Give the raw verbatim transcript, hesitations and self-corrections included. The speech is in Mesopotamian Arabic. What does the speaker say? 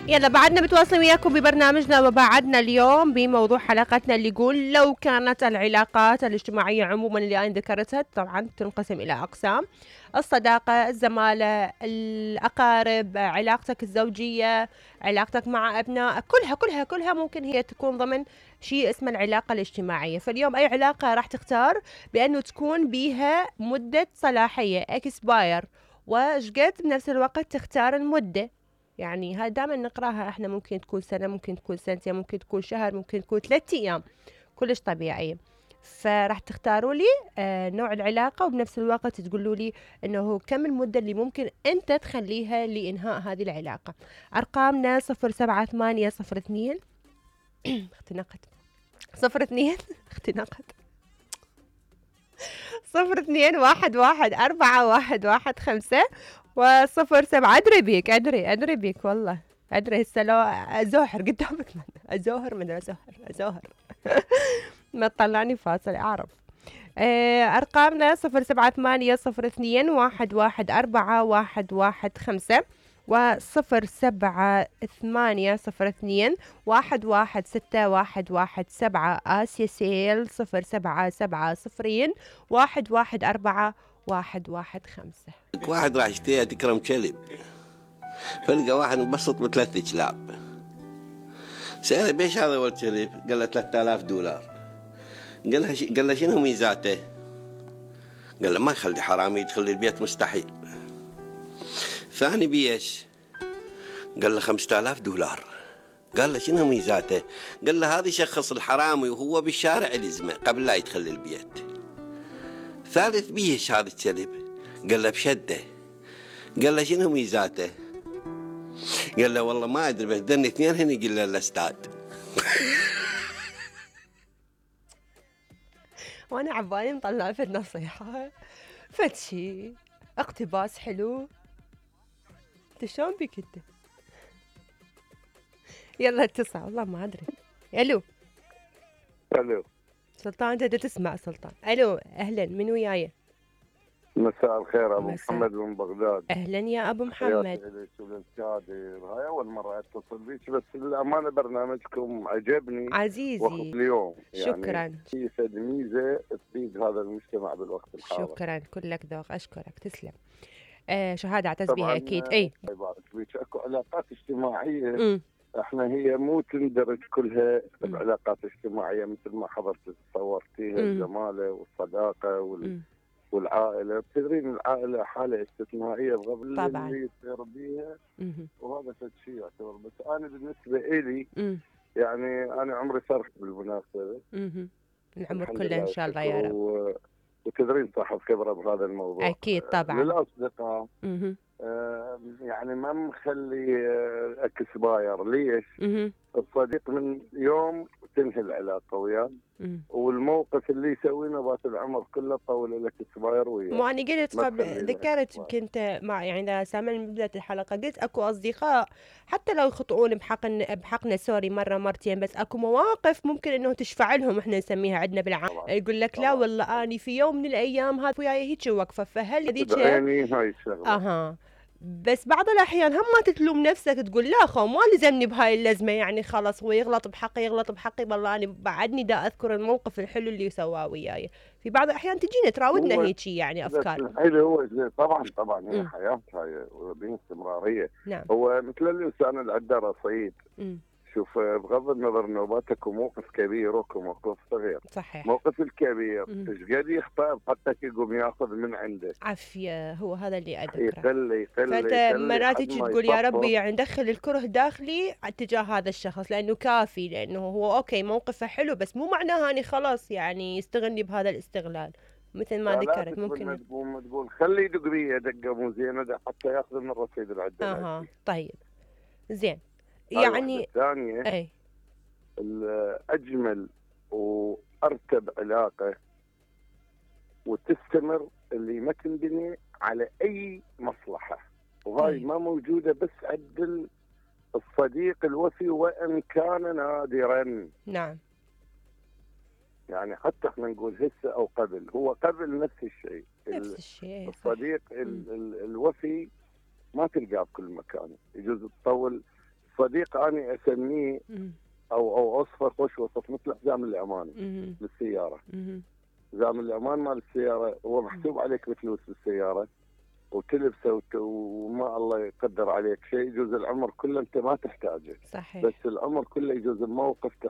يلا بعدنا متواصلين وياكم ببرنامجنا وبعدنا اليوم بموضوع حلقتنا اللي يقول لو كانت العلاقات الاجتماعية عموما اللي أنا ذكرتها طبعا تنقسم إلى أقسام: الصداقة، الزمالة، الأقارب، علاقتك الزوجية، علاقتك مع أبنائك، كلها كلها كلها ممكن هي تكون ضمن شيء اسمه العلاقة الاجتماعية. فاليوم أي علاقة راح تختار بأنه تكون بيها مدة صلاحية اكسباير، وشقد بنفس الوقت تختار المدة. يعني هاي دائما نقراها احنا، ممكن تكون سنة، ممكن تكون سنتين، ممكن تكون شهر، ممكن تكون ثلاثة ايام، كلش طبيعية. فراح تختاروا لي آه نوع العلاقة، وبنفس الوقت تقولوا لي انه كم المدة اللي ممكن انت تخليها لانهاء هذه العلاقة. ارقامنا صفر سبعة ثمانية صفر اثنين اختنقت صفر اثنين اختنقت صفر اثنين واحد واحد أربعة واحد واحد خمسة وصفر سبعة. أدري بيك أدري أدري بيك والله أدري. هسه لو أزوهر قدامك من أزوهر من أزوهر أزوهر ما تطلعني فاصل أعرف. أرقامنا صفر سبعة ثمانية صفر اثنين واحد واحد أربعة واحد واحد خمسة وصفر سبعة ثمانية صفر اثنين واحد واحد ستة واحد واحد سبعة. آسيا سيل صفر سبعة سبعة صفرين واحد واحد أربعة واحد واحد خمسة. واحد راح يشتريها تكرم كلب، فلقى واحد مبسط بثلاث كلاب، سأله بيش هذا أول كلب؟ قال له ثلاثة آلاف دولار. قال له ش... قال له شنو ميزاته؟ قال له ما يخلي حرامي يدخل البيت مستحيل. ثاني بيش؟ قال له خمسة آلاف دولار. قال له شنو ميزاته؟ قال له هذا يشخص الحرامي وهو بالشارع لزمه قبل لا يدخل البيت. ثالث بيش هذا الكلب؟ قال له بشده. قال له شنو ميزاته؟ قال له والله ما ادري بس دني اثنين هني قل له الاستاذ. وانا عبالي مطلع في النصيحة فتشي اقتباس حلو. انت شلون بك انت؟ يلا اتصل والله ما ادري. الو الو سلطان، انت تسمع سلطان؟ الو اهلا، من وياي؟ مساء الخير، ابو مساء. محمد من بغداد. اهلا يا ابو محمد. هاي اول مره اتصل بيك، بس للامانه برنامجكم عجبني عزيزي اليوم. شكرا. يعني في فد ميزه تفيد هذا المجتمع بالوقت الحاضر. شكرا كلك ذوق، اشكرك تسلم. آه شهاده اعتز بها اكيد. اي يبارك فيك. اكو علاقات اجتماعيه م. احنا هي مو تندرج كلها م. بعلاقات اجتماعيه مثل ما حضرتك تصورتيها، الزماله والصداقه وال م. والعائله. تدرين العائله حاله استثنائيه بغض طبعا اللي يصير بيها، م. وهذا شيء يعتبر. بس انا بالنسبه الي م. يعني انا عمري صرت بالمناسبه. م. العمر الحمد كله ان شاء الله يا رب. و... وتدرين صاحب خبره بهذا الموضوع. اكيد طبعا. للاصدقاء م. آه يعني ما مخلي آه اكسباير. ليش؟ م. الصديق من يوم تنهي العلاقه وياه، والموقف اللي يسوينه بات العمر كله طول لك اكسباير وياه. مو انا قلت قبل، ذكرت يمكن انت مع يعني سامع من بدايه الحلقه، قلت اكو اصدقاء حتى لو يخطئون بحقنا بحقنا سوري مره مرتين، بس اكو مواقف ممكن انه تشفع لهم، احنا نسميها عندنا بالعام. يقول لك لا والله اني في يوم من الايام هذا وياي هيك وقفه، فهل هذيك يعني هاي الشغله. اها. بس بعض الأحيان هم ما تتلوم نفسك، تقول لا خو ما لزمني بهاي اللزمة، يعني خلاص هو يغلط بحقي يغلط بحقي، والله أنا بعدني دا أذكر الموقف الحلو اللي سواه وياي. في بعض الأحيان تجينا تراودنا هيجي يعني أفكار. الحلو هو طبعا طبعا هي حياة، هاي باستمرارية. نعم. هو مثل الإنسان اللي عنده رصيد. م. شوف بغض النظر نوباتك وموقف كبير وموقف صغير. صحيح. موقف الكبير ايش قد يخطئ حتى يقوم ياخذ من عنده عافيه، هو هذا اللي اذكره. يخلي يخلي فانت مرات تقول يا ربي يعني ندخل الكره داخلي اتجاه هذا الشخص لانه كافي، لانه هو اوكي موقفه حلو، بس مو معناها اني خلاص يعني يستغلني بهذا الاستغلال مثل ما ذكرت. ممكن ما تقول ما تقول خلي يدق بي دقه مو زينه حتى ياخذ من الرصيد اللي عنده. اها طيب زين. يعني الثانية اي الأجمل وأرتب علاقة وتستمر اللي ما تنبني على أي مصلحة، وهاي ما موجودة بس عند الصديق الوفي وإن كان نادرا. نعم. يعني حتى احنا نقول هسه أو قبل، هو قبل نفس الشيء. نفس الشيء. الصديق ال ال الوفي ما تلقاه بكل مكان، يجوز تطول صديق اني اسميه مم. او او اوصفه خوش وصف مثل حزام الامان مم. بالسياره. مم. حزام الامان مال السياره هو محسوب عليك بفلوس بالسياره وتلبسه وت- وما الله يقدر عليك شيء، يجوز العمر كله انت ما تحتاجه، صحيح. بس العمر كله يجوز الموقف